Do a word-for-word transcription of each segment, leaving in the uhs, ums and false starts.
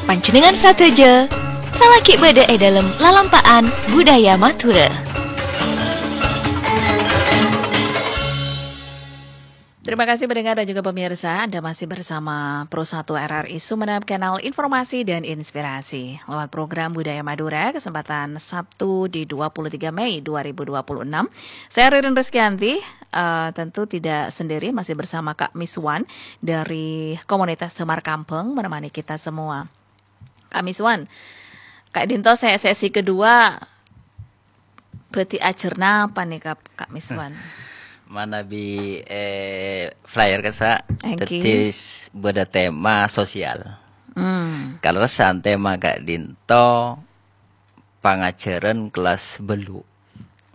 Panjhennengngan sadhâjâ, salaghi bâdâ è dâlem lalampa'an budaya Madhurâ. Terima kasih pendengar dan juga pemirsa, Anda masih bersama Pro satu R R I Sumenep, kanal informasi dan inspirasi. Lewat program Budaya Madura, kesempatan Sabtu di dua puluh tiga Mei dua ribu dua puluh enam. Saya Ririn Rizkyanti, eh, tentu tidak sendiri, masih bersama Kak Miswan dari komunitas Damar Kambang menemani kita semua. Kak Miswan, Kak Dinto, se-, sesi kedua bhâdhi ajhâr napa nèka, Kak Miswan? Manabi, eh, flyer kassa', Èngghi. Dhâddhi s-, bâdâ tema sosial. Hmm. Kalerressan tema Kak Dinto, pangajhârân kelas bâllu'.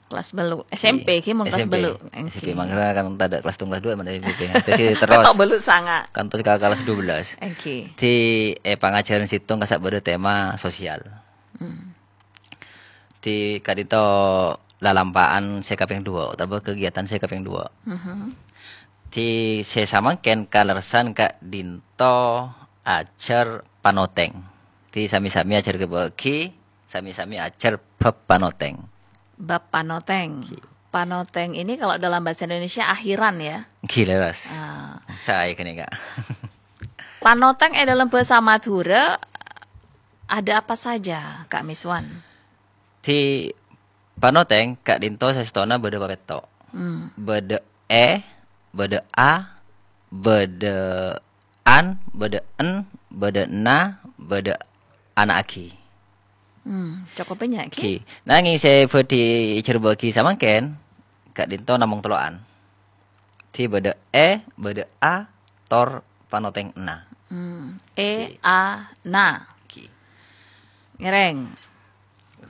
Kelas bâllu'. S M P Di ki mon kelas S M P. Bâllu'. S M P Èngghi. Mangkana kan tadâ' kelas sèttong, kelas duwâ' mana S M P. Dhâddhi terros. Tok bâllu' sanga'. Kantos ka kelas dua belas. Èngghi. Di, eh, pangajhârân sèttong kassa' bâdâ tema sosial. Hmm. Di ka'dinto lalampa'an sè kapèng duwâ', otabâ kegiatan sè kapèng duwâ'. Mhm. Di sè samangkèn kalerressan ka'dinto ajhâr panotèng. Di sami-sami ajhâr ka bâgi, sami-sami ajhâr bab panotèng. Bab panotèng. Ki. Panotèng ini kalau dalam bahasa Indonesia akhiran ya? Gila, Ras. Ah. Saya gini, Kak. Panotèng è dâlem bhâsa Madhurâ ada apa saja, Kak Miswan? Di panotèng ka'dinto sastona bâdâ papètto'. Hmm. Bâdâ è, bâdâ a, bâdâ an, bâdâ en, bâdâ na, bâdâ ana'aghi. Hmm, cokop bânnya' ghi. Ghi. Nangèng sè bhâdhi èjhârbâ'aghi samangkèn, ka'dinto namong tello'an. Di bâdâ è, bâdâ a, tor panotèng na. Hmm, è, Ghi. A, na. Ghi. Ngèrèng.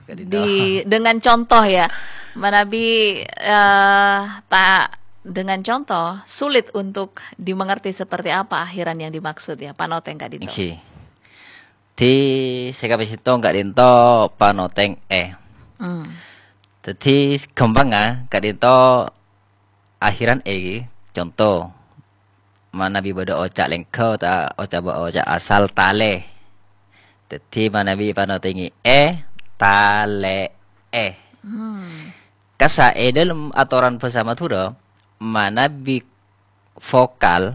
Ka'dinto. Di, dengan contoh ya. Manabi, eh, ta-, dengan contoh, sulit untuk dimengerti seperti apa akhiran yang dimaksud ya, panotèng ka'dinto. Ghi. Di sè kapèng sèttong ka'dinto panotèng è. Hmm. Dhâddhi ghâmpangnga ka'dinto akhiran è, conto, manabi bâdâ oca' lèngghâ ta-, oca', oca' asal talè. Dhâddhi manabi panotèngè è, talè'è. Hmm. Kassa' è dâlem atoran bhâsa Madhurâ, manabi vokal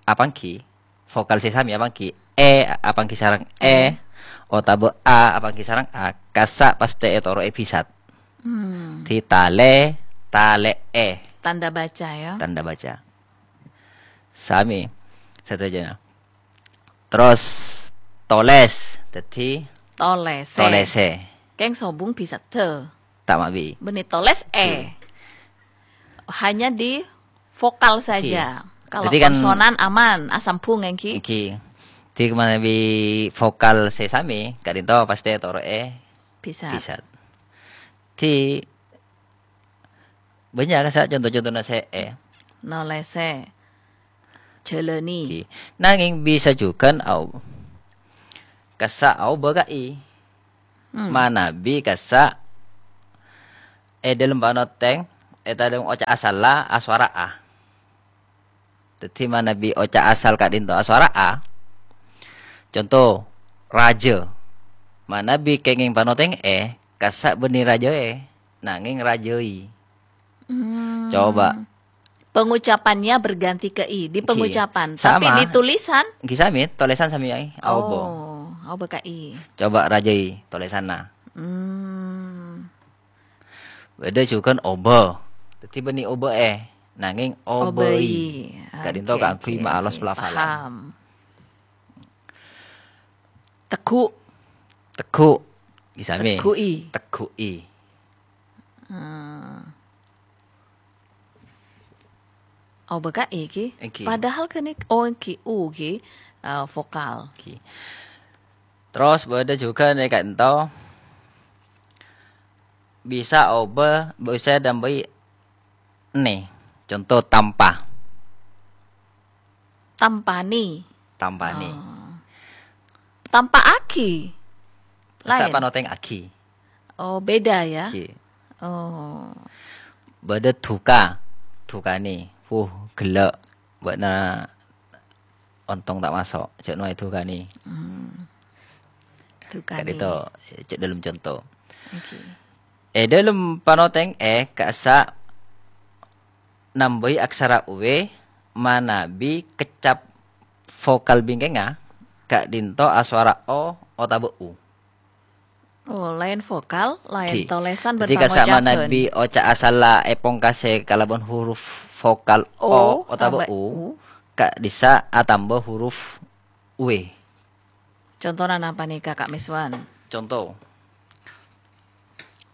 apangghi, vokal sè samè apangghi è apangghi sareng è, È. otabâ a apangghi sareng a, kassa' pastè ètoro'è bhisat. Hmm. Di talè, talè'è. Tanda baca, ya. Tanda baca. Samè sadhâjâna. Terros tolès, dhâddhi Tolèsè. tolèsè. Kèng sobung bhisatta. Ta' mabi. Bânnè tolès è. Oke. Hanya di vokal Oke. saja. Kalau Dhâddhi kan konsonan aman, asambhung èngghi. Èngghi. Dhâddhi manabi vokal sè samè, ka'dinto pastè toro'è Bhisat. bhisat. Dhâddhi Bânnya' kassa' conto-contona sè è. Nolèsè. Jhâlâni. Ghi. Nangèng bisa jhughân au-, kassa' aobâ ka i. Hmm. Manabi kassa' è dâlem panotèng, è dâlem oca' asalla aswara a. Dhâddhi manabi oca' asal ka'dinto aswara a, conto, rajâ. Manabi kèngèng panotèng è, kassa' bânnè rajâ è, nangèng rajâi. Hmm. Coba. Pengucapannya berganti ke i di Ghi. pengucapan, tapi Sama. di tulisan? Ghi samè, tolèsan samè aè, aobâ. Oh, aobâ ka i. Coba rajâi tolèsanna. Hmm. Bâdâ jhughân obâ. Dhâddhi bânnè obâ è, nangèng obâi. Obâi. Ka'dinto Oke, kaangghuy oke, maalos oke. pelafalan. Paham. Tegghu'. Tegghu'. Ghi samè. Tegghu'i. Tegghu'i. Hmm. Obâ ka i ghi. Èngghi. Padahal kan i-, oh, èngghi, u ghi, eh, vokal. Èngghi. Terros bâdâ jhughân è ka'dinto bisa obâ, bisa ètambâi nè. Conto, tampa. Tampani. Tampani. Oh. Tampa'aghi. Kassa' Laèn. panotèngaghi. Oh, beda ya? Ghi. Oh. Bâdâ duka. Dukanè. Wuh, ghellâ'. Bâ'na ontong ta' maso'. Jhâ' noè dukanè. Hmm. Dukani. Ka'dinto, cè' dhâlem conto. Oke. È dhâlem panotèng è ka'issa' nambâi aksara W manabi keccap vokal bingkèngnga, ka'dinto aswara O otabâ U. Oh, laèn vokal, laèn Oke. Tolèsan Dhâddhi bân ka'issa' pangocapan. Manabi oca' asalla èpongkasè kalabân huruf vokal O O otabâ otabâ U, U. Ka'dissa' atamba huruf W. Contona napa nèka, Ka' Miswan? Conto.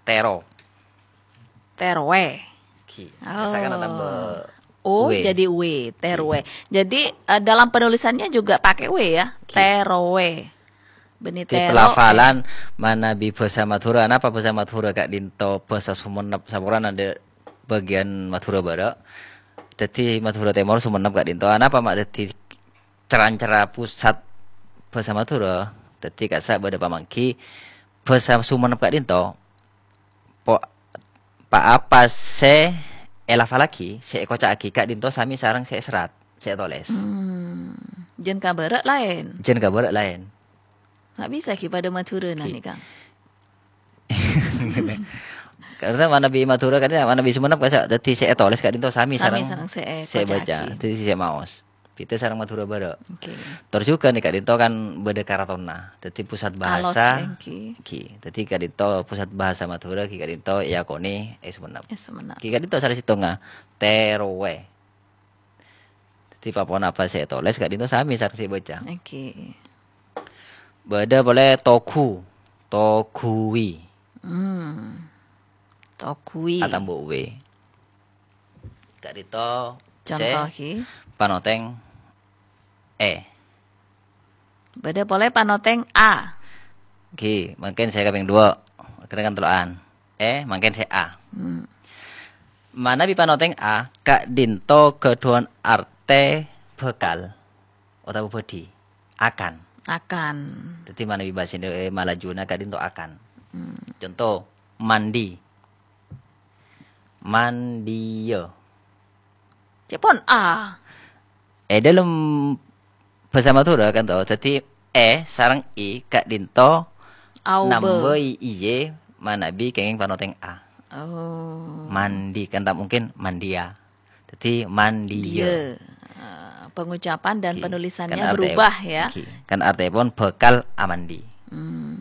Tèro. Tèrowè. Oke. Oh. Ka'issa' kan atamba O W. Jadi W, tèrowè. Oke. Jadi, eh, dalam penulisannya juga pakai W ya? Oke. Tèrowè. Bânnè Di tèro, pelafalan eh. Manabi bhâsa Madhurâ. Napa bhâsa Madhurâ ka'dinto bhâsa Songennep saporana dâ' bâgiyân Madhurâ Bârâ'. Dhâddhi Madhurâ Tèmor Songennep ka'dinto. Napa ma' dhâddhi cèr-ancèrra pusat bhâsa Madhurâ? Dhâddhi ka'issa' bâdâ pamangghi bhâsa Songennep ka'dinto. Po-, pa-apa sè èlafallaghi, sè èkoca'aghi ka'dinto sami sareng sè èserrat, sè ètolès. Hmm. Jân ka bârâ' laèn. Jân ka bârâ' laèn. Nggak bisa ghi padâ Madhurâna Ghi. Nèka. Karena manabi Madhurâ kan, manabi Songennep ka'issa' dhâddhi sè ètolès ka'dinto sami Sami sareng sareng sè sè èbâca, èkoca'aghi. Dhâddhi sè maos. Bhidhâ sareng Madhurâ Bârâ'. Oke. Tor jhughân nèka ka'dinto kan bâdâ karatonna. Dhâddhi pusat Alos, bahasa, èngghi. Ghi. Dhâddhi ka'dinto pusat bahasa Madhurâ, ghi ka'dinto èakonè è Songennep. È Songennep. Ghi ka'dinto sala sèttongnga, tèrowè. Dhâddhi pa-ponapa sè ètolès ka'dinto sami sareng sè èbâca. Oke. Bâdâ polè togu, togui. Hmm. Togui. Atamba W. Ka'dinto sè Contoh, ghi. Panotèng è. Bâdâ polè panotèng a. Ghi, mangkèn sè kapèng duwâ'. Kèra kan tello'an. È, mangkèn sè a. Hmm. Manabi panotèng a, ka'dinto ghâdhuwân artè bhâkal otabâ bhâdhi. Akan. Akan. Dhâddhi manabi bhâsa Indo-, eh, Malajuna ka'dinto akan. Hmm. Conto, mandi. Mandiya. Cè' pon a. È dhâlem bhâsa Madhurâ kan to, dhâddhi è sareng i ka'dinto Aubâ. Nambâi iye manabi kèngèng panotèng a. Oh. Mandi kan ta' mungkin mandiya. Dhâddhi mandiya. Diya. Ah, pengucapan dan Oke. Penulisannya Kan artè-, berubah ya. Oke. Kan artèpon bhâkal amandi. Hmm.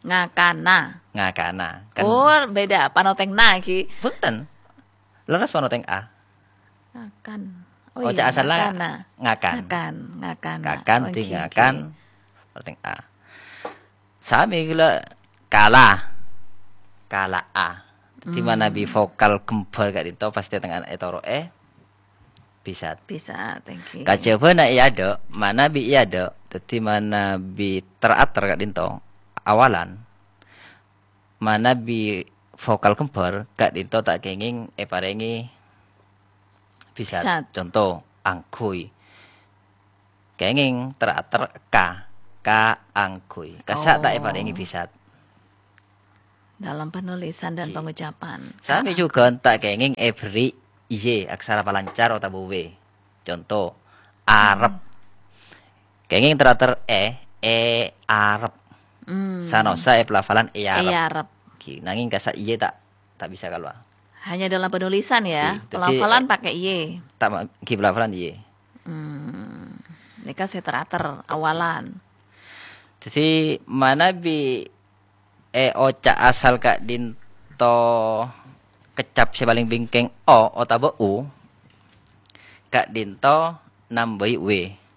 Ngakana. Ngakana. Kan Oh, beda. Panotèng na, Ki. Bhunten. Leres panotèng a. Ngakan. Oh, Oca' iya, asalla ngakana. Ngakan. Ngakan, ngakana. Ngakan, Oke, dhâddhi oke. Ngakan. Panotèng a. Sami ghulâ kala. Kala a. Dhâddhi Hmm. manabi vokal kembar ka'dinto pastè tengnga'an ètoro'è. Bisat. Bisat, thank you. Kajhâbhâna è adâ', manabi è adâ', dhâddhi manabi ter-ater ka'dinto, awalan, manabi vokal kembar ka'dinto ta' kèngèng èparèngè bisat. Bisat. Conto, angghuy. Kèngèng ter-ater ka, kaangghuy. Kassa' ta' Oh. èparèngè bisat. Dalam penulisan dan Oke. pengucapan. Sami Ka- jhughân ta' kèngèng èberri' Y, aksara palancar otabâ W. Conto, arep. Hmm. Kèngèng ter-ater è, è arep. Hmm. Sanossa è pelafalan è arep. È arep. Oke, nangèng kassa' Y ta', ta' bisa kalowar. Hanya dalam penulisan ya, Oke, dhâddhi, pelafalan eh, pakai Y. Ta' ma-, oke, pelafalan Y. Hmm. Nèka sè ter-ater awalan. Dhâddhi, manabi è oca' asal ka'dinto keccap sè palèng bingkèng O otabâ U, ka'dinto nambâi W.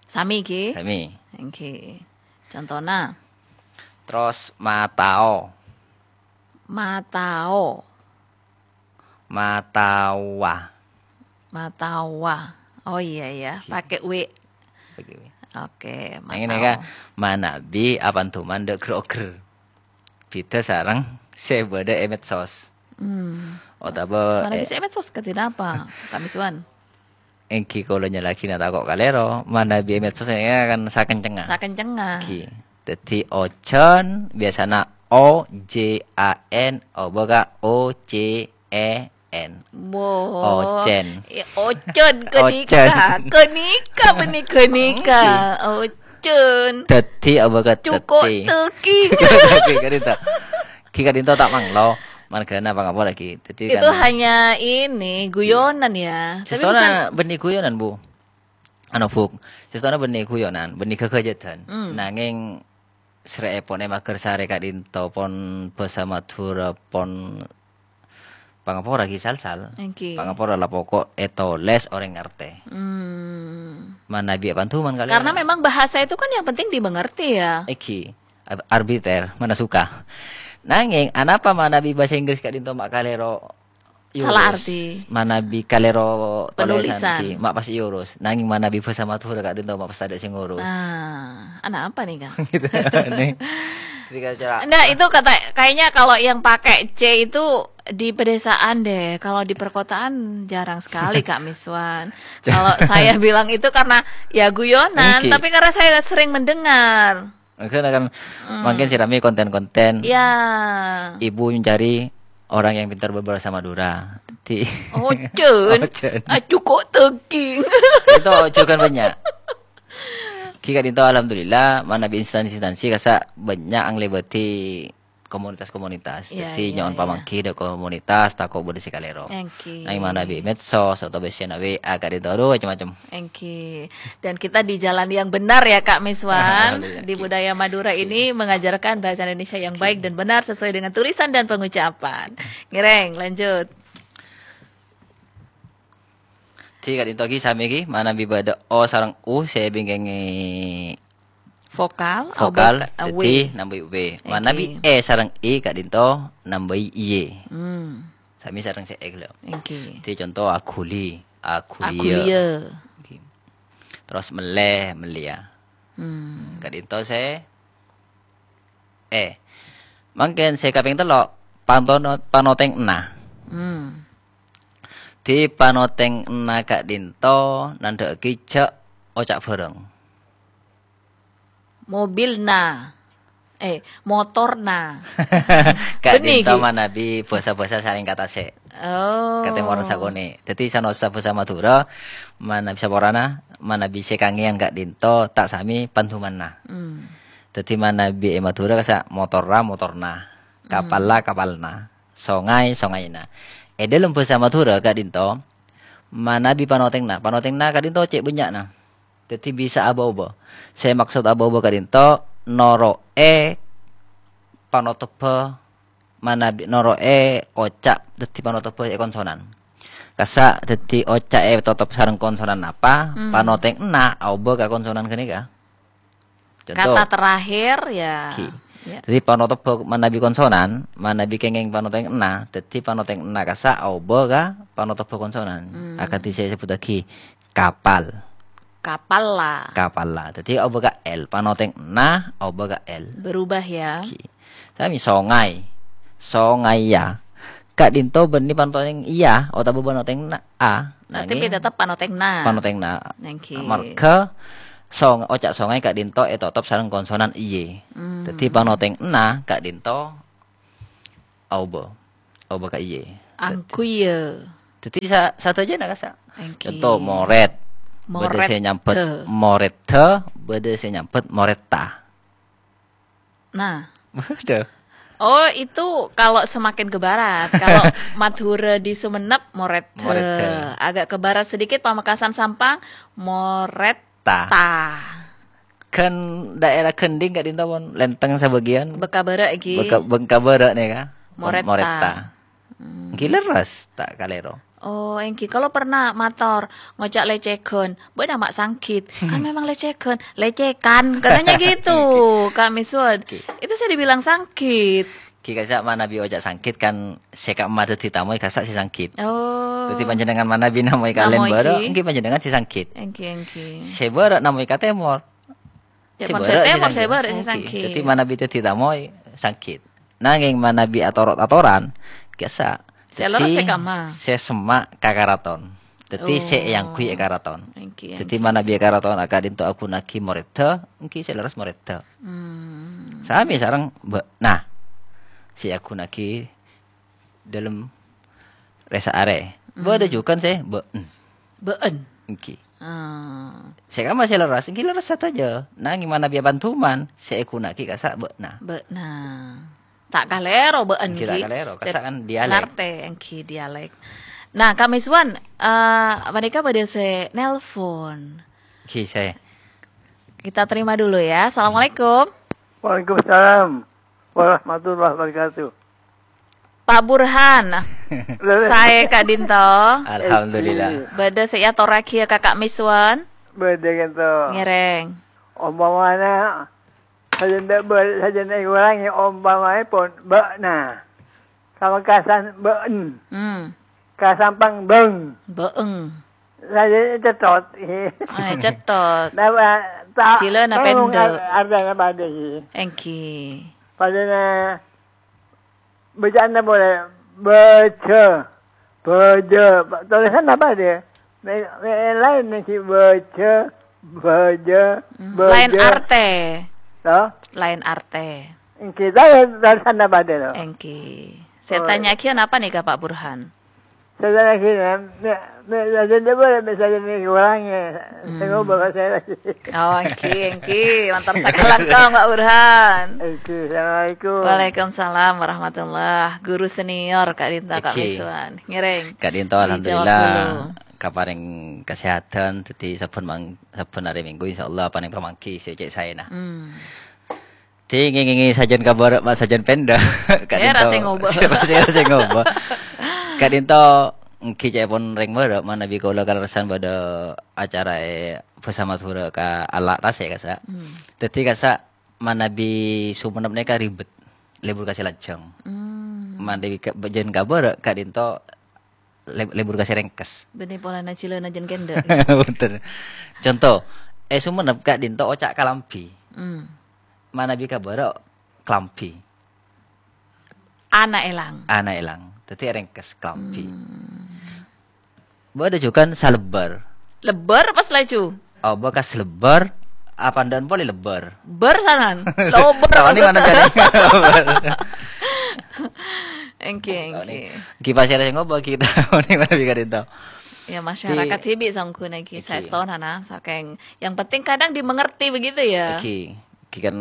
Sami, Ki? Sami. Oke. Contona? Terros matao. Matao. Matawa. Matawa. Oh, iya, iya. Oke. Pakai W. Pakai W. Oke, Yang ini matao. Kan, manabi apanduman dâ' grogger. Bhidhâ sareng sè bâdâ è medsos. Hmm. Otabâ, Manabi eh, sè è medsos kadhi napa, Ka' Miswan? Èngghi kaulâ nyala'aghina tako' kalèro, manabi è medsos èngghi kan sakencengnga. Sakencengnga. Èngghi. Dhâddhi ojan, biasana O J A N, obâ ka O C E N. Wo. Ocen. Eh, ocen, Ocen. Kenika. Kenika, bânnè kenika. Èngghi. O-, Cun. Daddi apa ka Cukup daddi? Teki. Cukup teki, kadinto. Ki kadinto ta' manglo. Margana pangapora ki. Daddi Itu kan hanya ini, guyonan ya. Tapi Sestona bukan bânnè guyonan, Bu. Anu, Bu. Sestona bânnè guyonan, bânnè ghâghâjâdhân. Hmm. Nangèng srè'èpon è Magersarè kadinto pon bhâsa Madhurâ pon pangapora ki sal-sal. Èngghi. Pangapora la poko' ètolès orèng ngartè. Hmm. Manabi èpanduman kalèro. Karena memang bahasa itu kan yang penting dimengerti ya. Èngghi. Ab-, arbiter, mana suka. Nangèng, anapa manabi bhâsa Inggris kadinto ma' kalèro Salah urus? Arti. Manabi kalèro tolèsan Penulisan. Ki, ma' pas èurus. Nangèng manabi bhâsa Madhurâ kadinto ma' pas tadâ' sè ngurus. Nah, anak apa nih, Kang? Gitu. Nih. Jadi kacau. Enggak, itu kata, kayaknya kalau yang pakai C itu di pedesaan deh. Kalau di perkotaan jarang sekali, Kak Miswan. Kalau saya bilang itu karena ya guyonan, Oke. Tapi karena saya sering mendengar. Mungkin akan Hmm. mungkin sirami konten-konten. Ya. Ibu mencari orang yang pintar berbahasa Madura. Di Oh, Cun. Oh, Cun. Ah, cukup teki. Itu juga banyak. Ki kadinto alhamdulillah, manabi instansi-instansi kasa banyak yang lebati komunitas-komunitas. Iya, Jadi iya, nyaman iya. Pamanggi ada komunitas, tako' bâdâ sè kalèro. Èngghi. Nang manabi medsos atau biasanya W A kadinto, aduh, macam-macam. Èngghi. Dan kita di jalan yang benar ya, Kak Miswan. Alhamdulillah. Di Èngghi. Budaya Madura Èngghi. Ini mengajarkan bahasa Indonesia yang Èngghi. Baik dan benar sesuai dengan tulisan dan pengucapan. Ngèrèng, lanjut. Di kadinto ki sami ki, manabi bâdâ O sareng U sè bingkèngè Vokal, vokal, obâ ka-, W. Dadi nambâi W. Èngghi. Manabi E sareng I kadinto nambâi Y. Hmm. Sami sareng sè E ghellâ'. Èngghi. Dadi conto aguli, aguliya. Aguliya. Èngghi. Terros mellè, mellèya. Hmm. Kadinto sè E. Mangkèn sè kapèng tello', pantono-, panotèngnga. Hmm. Dadi panotèngnga kadinto nandhâ'aghi jhâ' oca' bhâreng. Mobilna. Eh, motorna. Ka'dinto Bânnè, Ki? Manabi bhâsa-bhâsa saling katasè'. Oh. Katèmorra sakonè'. Dadi, sanaossa bhâsa Madhurâ, manabi saporana, manabi sè kangèyan ka'dinto, ta' samè pandumanna. Hmm. Dadi, manabi è Madhurâ kasa' motorra, motorna. Hmm. Kapalla, kapalna. Songay, songayna. È dhâlem bhâsa Madhurâ ka'dinto, manabi panotèngnga. Panotèngnga ka'dinto cè' bânnya'na. Dadi bisa abâ-obâ. Sè maksod abâ-obâ ka'dinto noro'è panotobbhâ manabi noro'è oca' dadi panotobbhâ è konsonan. Kasa' dadi oca' ètotop sareng konsonan apa, Mhm. panotèngnga aobâ ka konsonan ghânèka. Conto. Kata terakhir, ya. Ki. Ya. Dadi panotobbhâ manabi konsonan, manabi kèngèng panotèngnga, dadi panotèngnga kasa' aobâ ka panotobbhâ konsonan. Hmm. Akadhi sè èsebbhuttaghi kapal. Kapalla. Kapalla. Dadi, aobâ ka L. Panotèngnga, aobâ ka L. Berubah, ya. Oke. Sami songay. Songay, ya. Ka'dinto bânnè panotèng iya, otabâ panotèngnga, a. Tapi Nangèng tetep panotèngnga. Panotèngnga. Oke. Amarghâ song-, oca' songay ka'dinto ètotop sareng konsonan iye. Hmm. Dadi, panotèngnga ka'dinto aobâ. Aobâ ka iye. Angkuya. Dadi sa-, sadhâjâna kasa'. Èngghi. Conto, morèt. Bâdâ sè nyambhut Morèdhâ. Morèdhâ, bâdâ sè nyambhut morètta. Nah. Waduh. Oh, itu kalau semakin ke barat. Kalau Madhurâ di Sumenep, Morèdhâ. Morèdhâ. Agak ke barat sedikit, Pamekasan Sampang, Morètta. Ta. Kan daerah Gending ka'dinto pon lèntèng sabâgiyân. Bengkabârâ' iki. Bengka-, Bengkabârâ' nèka. Morètta. Morètta. Hmm. Èngghi lerres, ta' kalèro. Oh, èngghi. Kalau pernah mator ngoca' lecegan, "Bâ'na ma' sanggit." Kan memang lecegan, lecekan, katanya gitu, Èngghi. Kak Miswud. Èngghi. Itu saya dibilang sanggit. Èngghi, kasa' manabi oca' sanggit kan sè ka'emma dhâddhi tamoy kasa' sè sanggit. Oh. Dhâddhi panjhennengan manabi namoy ka lèn Namoy bârâ', èngghi. Èngghi panjhennengan sè sanggit. Èngghi, èngghi. Sè bârâ' namoy ka tèmor. Ya, Sè pon bârâ' sè sè tèmor, sè sanggit. Bârâ' sè Èngghi. Sanggit. Dhâddhi manabi dhâddhi tamoy sanggit. Nangèng manabi ator-atoran, kasa'. Sè lerres Dhâddhi sè ka'emma. Sè semma' ka karaton. Dhâddhi sè Oh. èangghuy è karaton. Èngghi, Dhâddhi èngghi. Manabi è karaton aka'dinto aghunnagi morèdhâ, èngghi sè lerres morèdhâ. Hmm. Sami sareng bâ-, nah, sè aghunnagi dhâlem rèsa arè. Hmm. Bâdâ jhughân sè bâ'en. Bâ'en. Èngghi. Ah. Sè kamma sè lerres, èngghi lerres sadhâjâ. Nangèng manabi apanduman, sè èghuna'aghi kassa' bâ'na. Bâ'na. Ta' kalèro bâ'en, èngghi ta' ghi. Kalèro, kassa' kan dialek. Ngartè, èngghi dialek. Nah, Kak Miswan, eh, panèka bâdâ sè nelpon. Èngghi, sè. Kita terima dulu ya. Assalamualaikum. Waalaikumsalam warahmatullahi wabarakatuh. Pak Burhan, saè ka'dinto. Alhamdulillah. Bâdâ sè èatorraghiyâ ka Kak Miswan? Bâdâ ka'dinto. Ngèrèng. Ompamana, sajân bâ-, sajân èkorangè ompamaèpon bâ'na. Pamekasan bâ'en. Hmm. Kasampang bâng. Bâ'eng. Sajân cèthot. Eh, cèthot. Napa ta-, Jhilâna tao pendek. Ar-, artèna padâ, ghi. Èngghi. Padâna bâca'anna polè bâjâ, bâjâ. Tolèsanna padâ. Mè-, mè-, laèn nèng ghi bâjâ, bâjâ, Hmm, bâjâ. Laèn artè. Toh? Laèn artè. Èngghi, ta-, tolèsanna padâ, toh. Èngghi. Sè Oh. ètanya'aghi napa nèka, Pak Burhan? Sè ètanya'aghi, mè-, mè-, sajân bâ-, mè-, sajân èkorangè. Sè Hmm. ngobâ ka saya lagi. Oh, èngghi, èngghi. Mator sakalangkong, Pak Burhan. Èngghi, assalamualaikum. Waalaikumsalam warahmatullah. Guru senior ka'dinto, Kak Èngghi. Miswan. Ngèrèng. Ka'dinto, Dijawab alhamdulillah, dulu. Kaparèng kasèhadhân, dhâddhi sabbhân mang-, sabbhân arè Minggu, insyaallah, panèng pamangghi sè cè' saèna. Hmm. Dhing, ngèngèngè sajân kabârâ', ma' sajân pènḍâ. Ka'dinto. Sè ngobâ. Sè, sè, sè ngobâ. Ka'dinto, èngghi ca'èpon rèng bârâ', manabi kaulâ kalerressan bâdâ acara è bhâsa Madhurâ ka Alla' Tasè', kassa'. Hmm. Dhâddhi, kassa', manabi Sumenep nèka ribet. Lebur kasè lanjhâng. Hmm. Manabi ka-, bâjân kabârâ', ka'dinto leb-, lebur kasè rèngkes. Bânnè polana jhilâna jân kènḍâ'. Bhunten. Conto, è Sumenep ka'dinto oca' kalambhi. Hmm. Manabi kabârâ' kalambhi. Ana èlang. Ana èlang. Dhâddhi rèngkes kalambhi. Hmm. Bâdâ jhughân salebbâr. Lebbâr pas laju. Oh, bekas lebbâr, apa nḍâ'ân polè lebbâr? Bâr sanan. Lobâr. Tahu ni maksudnya. Mana jadi? Èngghi, Oh, èngghi. ni. Ghi pasèra sè ngobâ, ghi tahu ni mana bi ka'dinto. Ya, masyarakat Di- sè bi' songghuna ghi Èngghi. saèstona, sakèng yang penting kadang dimengerti begitu ya. Èngghi, ghi kan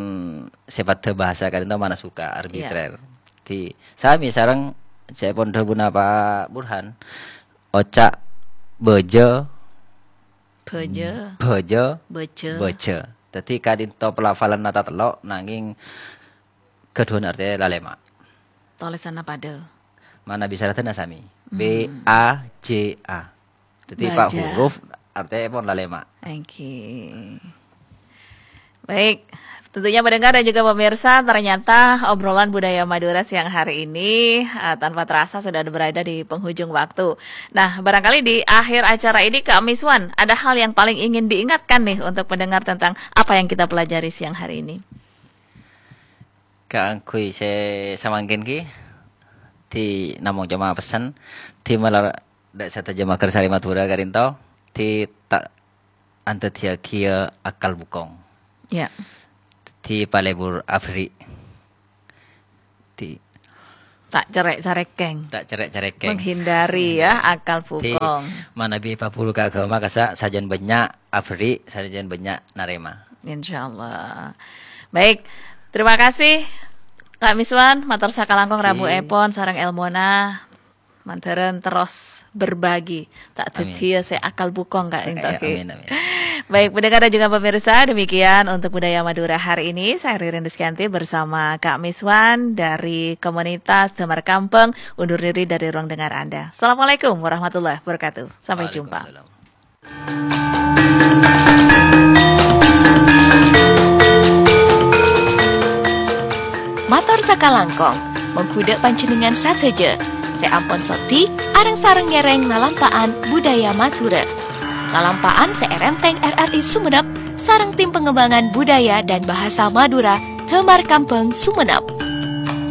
sifatnya bahasa ka'dinto mana suka, Iya. arbitrer. Di, sami sareng sè pon dhâbuna Pak Burhan, oca' bâjâ, Bâjâ. bâjâ, Bâjâ. bâjâ. Dhâddhi ka'dinto pelafalanna tatello', nangèng ghâḍhuwân artè lalèma'. Tolèsanna paḍâ. Manabi saradhânna sami. Hmm. B A J A. Dhâddhi, Pak, Bâjâ. huruf artèna pon lalèma'. Èngghi. Baik, tentunya pendengar dan juga pemirsa, ternyata obrolan budaya Madura siang hari ini, eh, tanpa terasa sudah berada di penghujung waktu. Nah, barangkali di akhir acara ini, Kak Miswan, ada hal yang paling ingin diingatkan nih untuk pendengar tentang apa yang kita pelajari siang hari ini? Kaangghuy sè samangkèn ghi, di namong coma pessen, di malar ḍâ' sadhâjâ maghârsarè Madhurâ ka'ḍinto, di ta' anḍhâddhiyâghi akal bukong. Ya. Di palebur aberri'. Di Ta' cerrè'-cerrèkèng. Ta' cerrè'-cerrèkèng. Menghindari ya, Hmm. akal Di bukong. manabi paburu ka aghâma kassa' sajân bânnya' aberri', sajân bânnya' narèma. Insyaallah. Baik. Terima kasih, Kak Miswan, mator sakalangkong Oke. rabu èpon sareng èlmona. Mandhârân terros berbagi. Ta' Amin. dhâddhiyâ sè akal bukong, Kak, Eh, èntoke. amin, amin. Baik, pendengar dan juga pemirsa, demikian untuk Budaya Madura hari ini. Saya Ririn Rizkyanti bersama Kak Miswan dari komunitas Damar Kampeng, undur diri dari ruang dengar Anda. Assalamualaikum warahmatullahi wabarakatuh. Sampai jumpa. Waalaikumsalam. Mator sakalangkong, mongghu ḍâ' panjhennengngan sadhâjâ sè ampon soddhi areng-sareng ngèrèng lalampa'an budaya Madhurâ. Lalampa'an sè èrèntèng R R I Sumenep sareng Tim Pengembangan Budaya dan Bahasa Madura, Damar Kampeng, Sumenep.